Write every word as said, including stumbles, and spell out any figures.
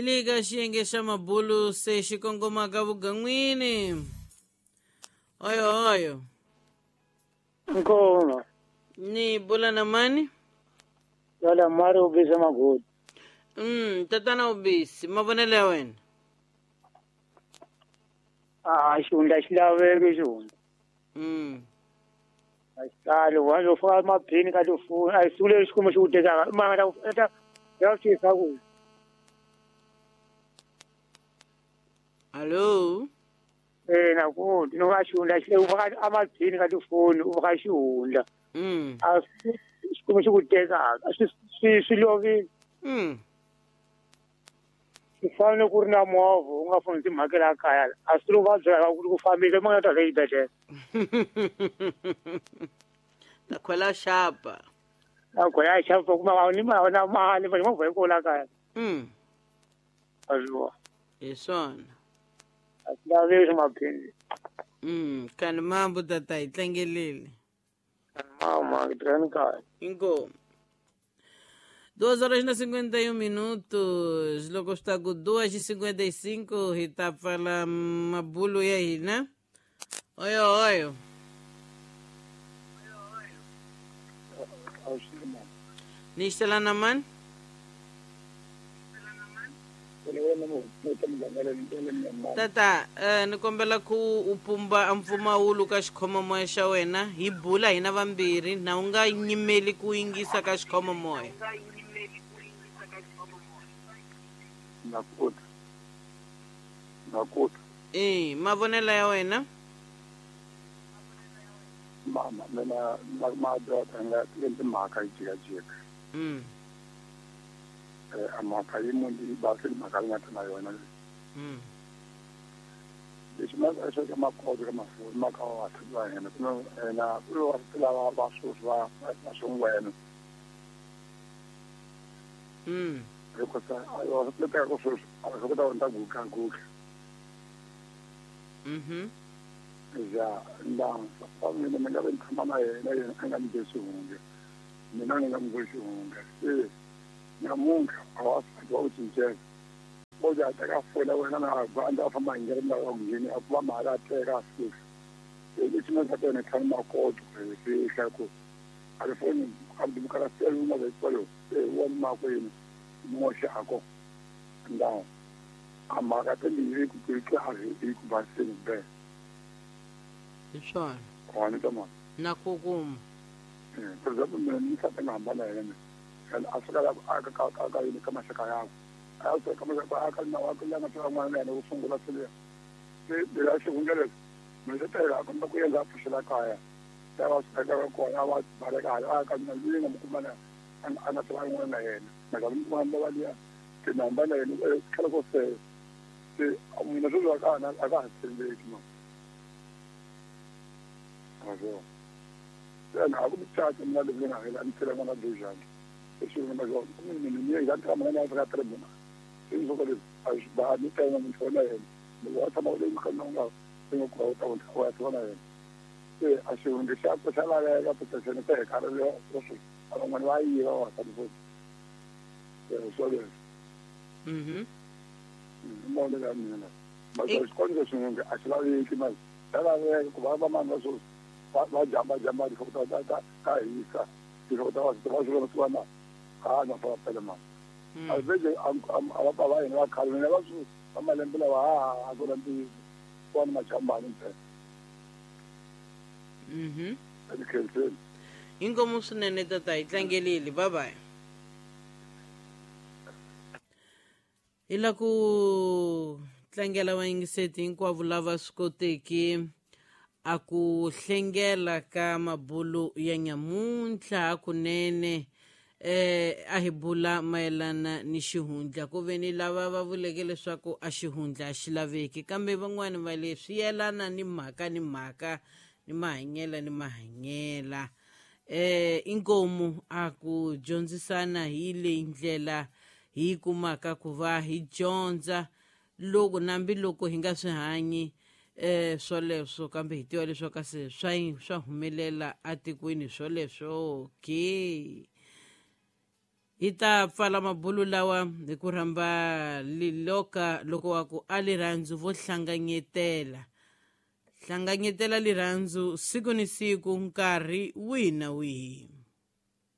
Hi le ka xiyenge xa mabulu se xi kongomaka vugan'wini. Oyo oyo. Nkoma. Ni bula na mani? Wala mari ubisa magodi. Mm, tatana ubisi, mavonelo ya wena. Ah, xihundla xi laveki xihundla. Mm. A xi tali, wa yo faka maphini ka tifoni, a hi siku leri xikwembu xi ku tekaka, mara ta ta ya ku tisa ku. Allo. Eh, na ku, no va xihundla xi u faka amaphini ka tifoni, u faka xihundla. Mm. A xikwembu xi ku tekaka, swi swi swi lovile. Mm. Swi fanele ku ri na movha u nga foni timhakela kaya a swi lo va byela ku ku fambile ma nga ta le xibedhlele. Ta khwela xapa. A khwela xapa kuma a ni ma na mali va movha yi kola kaya. Mm. A swi vona. Hi swona. A swi laveki swa maphini. Mm, kani mambo tata hi tlangelile. Mama, ke tirhani kaya. Inkomu. Duas horas na cinquenta e um minutos, loko swi ta ku duas e cinquenta e cinco hi ta pfala mabulu ya hina. Oyo oyo. Ni xitela na mani? Tata, eh, ni kombela ku u pumba a mpfumawulo ka xikhomomoya xa wena hi bula hina vambirhi na u nga nyimeli ku yingisa ka xikhomomoya. Nakuta. Nakuta. Eh, mavonelo ya wena? Mama, mina ma doda nga timhaka yi jikajika. Mm. Eh, a mhaka yi munhu yi basi mhaka yi nga ta na yona. Mm. Lexi ma xo ka makoto ka mafoni ma ka wa va hina ku na ku va lava va sweswi va va swingwena. Mm. Hikuva a yo swi teka ku sweswi a swi kota ku ta guka guka. Mhm. Ja, nda fa mina mi nga tshama na yena yena a nga ni be xihundla. Mina ni nga n'wi be xihundla. Se namuntlha a wa wa ku cincela. Bo ja teka fona wena na va ndza famba hi ndlela ya ku ngheni a ku va mali a teka a fika. Se lexi nga ta tona tlhanu makoto ku fihla ku a ri foni a dimukara sele u nga ve kwalo se wa makwenu moxako nda a mhaka timbirhi ku ku kahle hi ku baseni be. Hi swona. Wa ni tama. Na ku kuma. Eh, for example mina ni tshama na hambana yena. And a fika la a ka ka ka yini ka maxaka yakwe. A ya ka maxaka a ka na wa ku langa ta n'wana yena ku sungula sele. Se bila xihundla leswi. Mina se tela a komba ku endla pfuxela kaya. Ta va swi ka kona va baleka a ka mina ni nga mu kuma na a nga ta n'wana na yena. Maka mi kuma va liya ke na hambana yena tlhela ko se se mina sweswi a ka a ka ha tshembeki ma. Azo. Then a ku mucato mina leswi nga hela ni tlhela n'wana dojani. Leswi nga ma mina ni nga tshama na yena ka tribuna. Se ni soko leswi a swi ba ni tena munhu wa yena. Loko a tshama le mukhanna u nga u nga ku ta ku wa tshama na yena. Se a xihundla xa ku xa laveka protection se hi karhi lo swi a van'wana va yiva va ta ni eh so leswi. Mhm. Mona ya mina. Ma xikondzo xin'we a xi laveki ma. Xa laveka ku va va mani va sweswi va va jamba jamba tinhloko ta ta ta hisa tinhloko ta va va swi vona na ha na fa pele ma. A vele a va va hina va khale mina va swi va malembe lawa ha a ku na ntiyiso wa ni majambani ntsena. Mhm. Ekhenseni. Inkomu swinene tata hi tlangelile bye bye. Hi la ku tlangela vayingiseti hinkwavo lava swi koteki a ku hlengela ka mabulu ya nyamuntlha hakunene eh a hi bula mayelana ni xihundla ku ve ni lava va vuleke leswaku a xihundla a xi laveki kambe van'wani va leswi yelana ni mhaka ni mhaka ni mahanyela ni mahanyela eh inkomu a ku dyondzisana hi leyi ndlela hi kumaka ku va hi dyondza loko nambi loko hi nga swi hanyi eh swoleswo kambe hi tiva leswaku se swa swa humelela atikweni swoleswo ke. Hi ta pfala mabulu lawa hi ku rhamba liloka loko wa ku a lirhandzu vo hlanganyetela hlanganyetela lirhandzu siku ni siku nkarhi wihi na wihi.